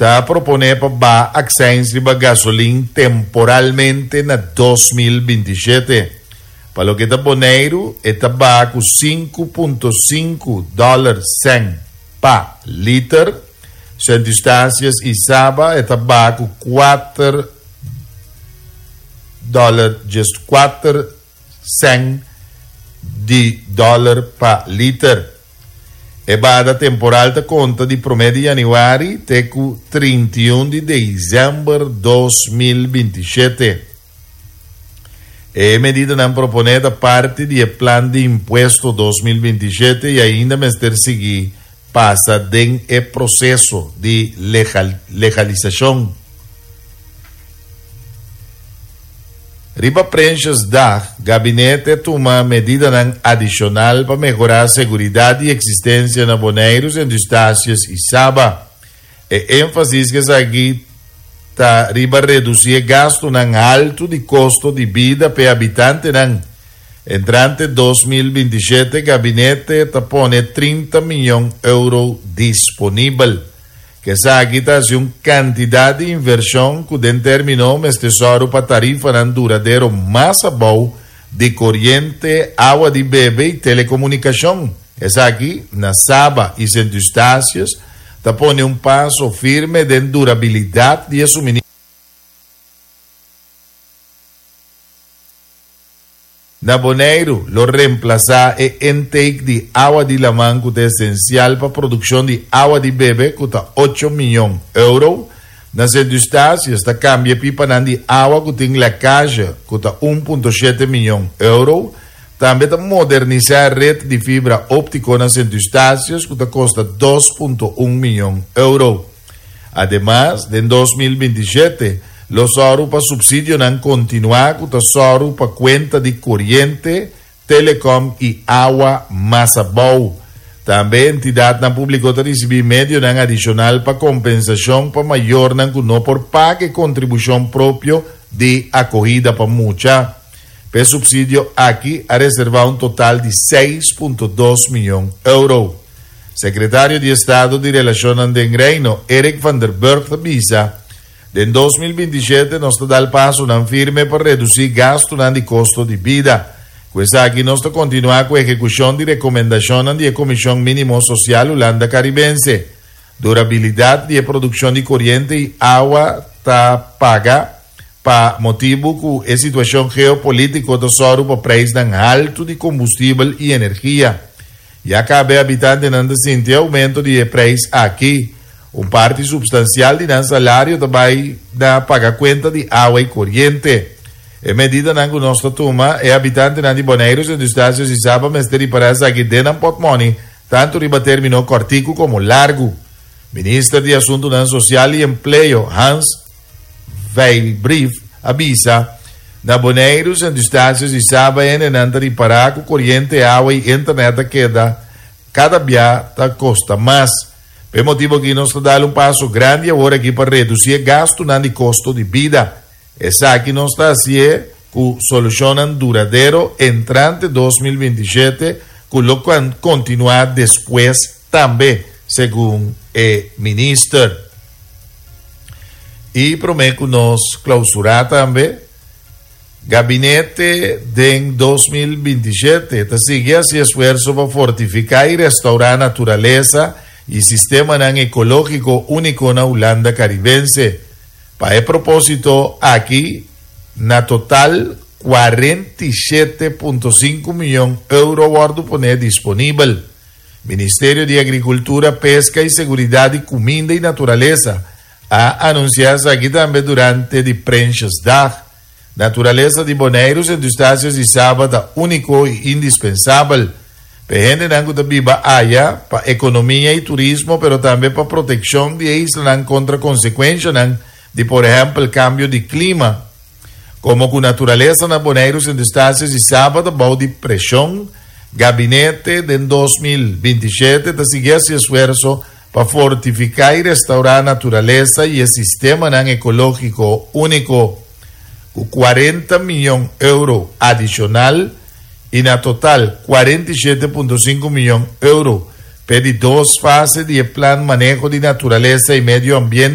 Ta proponé pa baha akseins riba gasolin temporalmente na 2027. Pa loke ta Boneiru, e ta baha ku 5.5 dòler sèn pa liter. Sint Eustatius i Saba e ta baha ku 4 dòler 14 sèn di dòler pa liter. E bahada temporal ta konta di promé di yanüari te ku 31 di desèmber 2027. E medidanan proponé ta parti di e plan di impuesto 2027 i ainda mester sigui pasa den e proseso di legalisashon. Riba Prinsjesdag, gabinete a tuma medidanan adishonal pa mehorá seguridat di eksistensia na Boneiru, Sint Eustatius i Saba. E énfasis ku esaki ta riba redusí e gastunan haltu di kosto di bida pa e habitantenan. Entrante 2027, gabinete ta pone 30 mion euro disponibel. Ku esaki ta hasi un kantidat di invershon ku den término mester sòru pa tarifanan duradero mas abou di koriente, awa di bebe i telekomunikashon. Esaki, na Saba i Sint Eustatius, ta pone un paso firme den durabilidat di e suministro. Na Boneiru lo remplasá e intake di awa di laman ku ta esensial pa produkshon di awa di bebe ku ta 8 mion euro. Na Sint Eustatius ta kambia e pipanan di awa ku tin lèkazje ku ta 1.7 mion euro. Tambe ta modernisá e ret di fibra óptiko na Sint Eustatius ku ta kosta 2.1 mion euro. Ademas, den 2027 lo sòru pa supsidionan kontinuá ku ta sòru pa kuenta di koriente, telecom i awa mas abou. Tambe entidatnan públiko ta risibí medionan adishonal pa kompensashon pa mayornan ku no por paga e kontribushon propio di akohida pa mucha. Pa e supsidio aki a reservá un total di 6.2 mion euro. Sekretario di Estado di Relashonnan den Reino, Eric van der Burg ta bisa, Den 2027 nos ta dal pasonan firme pa redusí gastunan di kosto di bida. Ku esaki nos ta kontinuá ku ehekushon di rekomendashonnan di e Komishon Mínimo Sosial Hulanda Karibense. Durabilidat di e produkshon di koriente i awa ta paga pa motibu ku e situashon geopolítiko ta sòru pa preisnan haltu di kombustibel i energia. Ya kaba e habitantenan ta sinti e oumento di e preis aki. Un parti supstansial di nan salario ta bai na paga kuenta di awa i koriente. E medidanan ku nos ta tuma, e habitantenan di Boneiru, Sint Eustatius i Saba mester ripará esaki den nan pòtmòni, tantu riba término kòrtiku komo largu. Minister di Asuntunan Sosial i Empleo, Hans Vijlbrief, a bisa, Na Boneiru, Sint Eustatius i Saba hendenan ta ripará ku koriente, awa i internet ta keda kada bia ta kosta mas. Pa e motibu aki nos ta dal un paso grandi awor aki pa redusí e gastunan di kosto di bida. Esaki nos ta hasié ku solushonnan duradero entrante 2027 ku lo kontinuá despues tambe, segun e minister. I promé ku nos klousurá tambe, Gabinete den 2027 ta sigui hasi esfuerso pa fortifiká i restourá naturalesa i sistemanan ekológiko úniko na Hulanda Karibense. Pa e propósito aki, na total 47.5 mion euro wòrdu poné disponibel. Ministerio di Agrikultura, Peska i Seguridat di Kuminda i Naturalesa a anunsiá esaki tambe durante di Prinsjesdag. Naturalesa di Boneiru, Sint Eustatius i Saba ta úniko i indispensabel pa e hendenan ku ta biba aya, pa ekonomia i turismo, pero tambe pa protekshon di e islanan kontra konsekuenshanan di por ehèmpel kambio di klima. Komo ku naturalesa na Boneiru, Sint Eustatius i Saba ta bou di preshon, gabinete den 2027 ta sigui hasi esfuerso pa fortifiká i restourá naturalesa i e sistemanan ekológiko úniko. Ku 40 mion euro adishonal i na total 47.5 mion euro p'e di dos fase di e Plan Maneho di Naturalesa i Medio Ambiente.